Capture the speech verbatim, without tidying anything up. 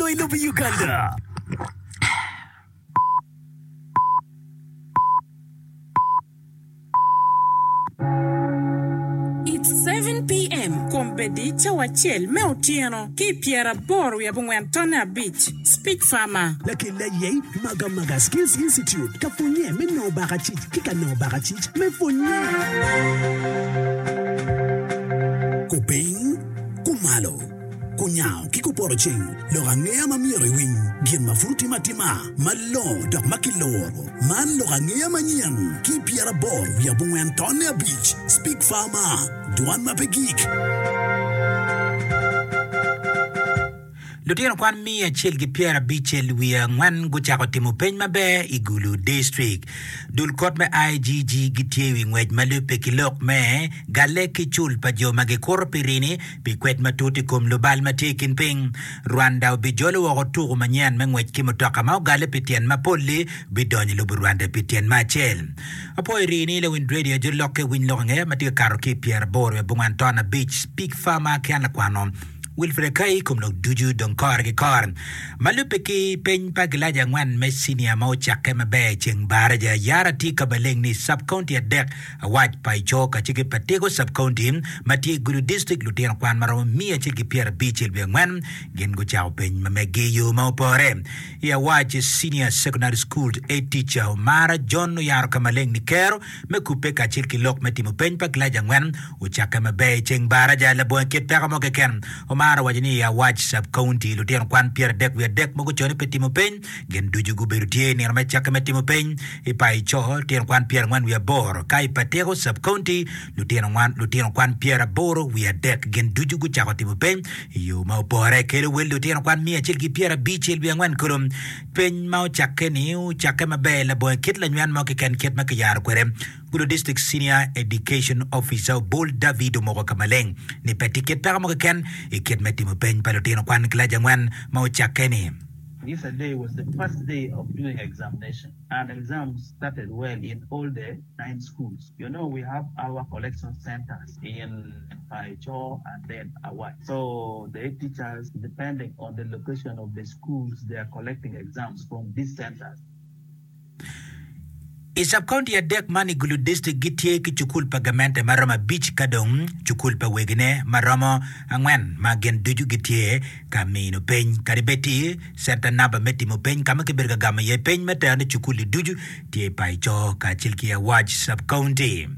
loyo i lobo Uganda. It's seven PM, Kombeddi cawa acel me otyeno ki i pyeraboro wiye abongwen tonne abic, Speech Farmer. Lakel aye Magamaga Skills Institute ka pwonye me nongo bakacic ki ka nongo bakacic me pwonye. Kupiny, kumalo, kunyango ki kupoto ceng, lok angeya ma myero iwiny, gin ma pud otime atima, malongo dok ma kiloro. Man lok angeya manyen ki i pyeraboro wiye abongwen tonne abic, Speak Farmer, Dwan ma pe gik. Lutino kwan miya acel ki pyerabicel wiye angwen gucako timo peny maber i Gulu District. Dul kot me IGG gitye i wi ngwec ma lubbe ki lok me galle ki cul pa jo ma gikuto pi rini pi kwed matut i kom lubal ma tye i kin piny. Rwanda obijolo woko tuku manyen me ngwec ki mutoka ma ogalle pi tyen mapol-li bidonyo i lobo Rwanda pi tyen me acel. Apwoyo rii ni lawiny radio jo lokke winy lok angeya ma tye ka kato ki i pyeraboro wiye abongwen ton abic Speak Farmer ki an lakwano Wilfred Akai i kom lok ducu dong kore ki kore. Ma lubbe ki peny pa gilaci angwen me cinia ma ocakke maber i ceng baraja, yara tye ka maleng ni sub county adek Awac pa Ico kacel ki Patego sub county ma tye i Gulu district lutino kwan ma romo miya acel ki pyerabicel wiye angwen gin gucako peny ma meggi i yo ma opore. I Awac Senior Secondary School head teacher Omara John oyaro ka maleng ni kero me kubbe kacel ki lok me timo peny pa kilaci angwen ocakke maber i ceng baraja labongo kit peko mo keken. Omara owaco ni i Awac Sub-County lutino kwan pyeradek wiye adek ma gucone pi timo peny gin ducu gubedo tye i nino me cakke me timo peny. I Paico lutino kwan pyerangwen wiye aboro ka i Patiko Sub-County lutino kwan pyeraboro wiye adek gin ducu gucako timo peny i yo ma opore. Kelo wel lutino kwan miya acel ki pyerabicel wiye angwen kulu. Peny ma ocakke-ni ocakke maber labongo kit lanywen mo keken kit ma kiyaro kwede. Gulu District Senior Education Officer Obul David omoko ka maleng ni pe tye kit peko mo keken i kit me timo peny pa lutino kwan kilaci angwen ma ocakke-ni. Yesterday was the first day of doing examination and exams started well in all the nine schools. You know we have our collection centers in Paicho and then Awach. So the teachers depending on the location of the schools they are collecting exams from these centers. I Sub-County adek man i Gulu District gitye ki cukul pa gamente ma romo abic ka dong cukul pa wegine ma romo angwen ma gin ducu gitye ka mino peny. Kadi bed ti centa namba me timo peny ka ma kibedo ka gamo iye peny me terone cukul-li ducu tye i Paico kacel ki Awac Sub-County.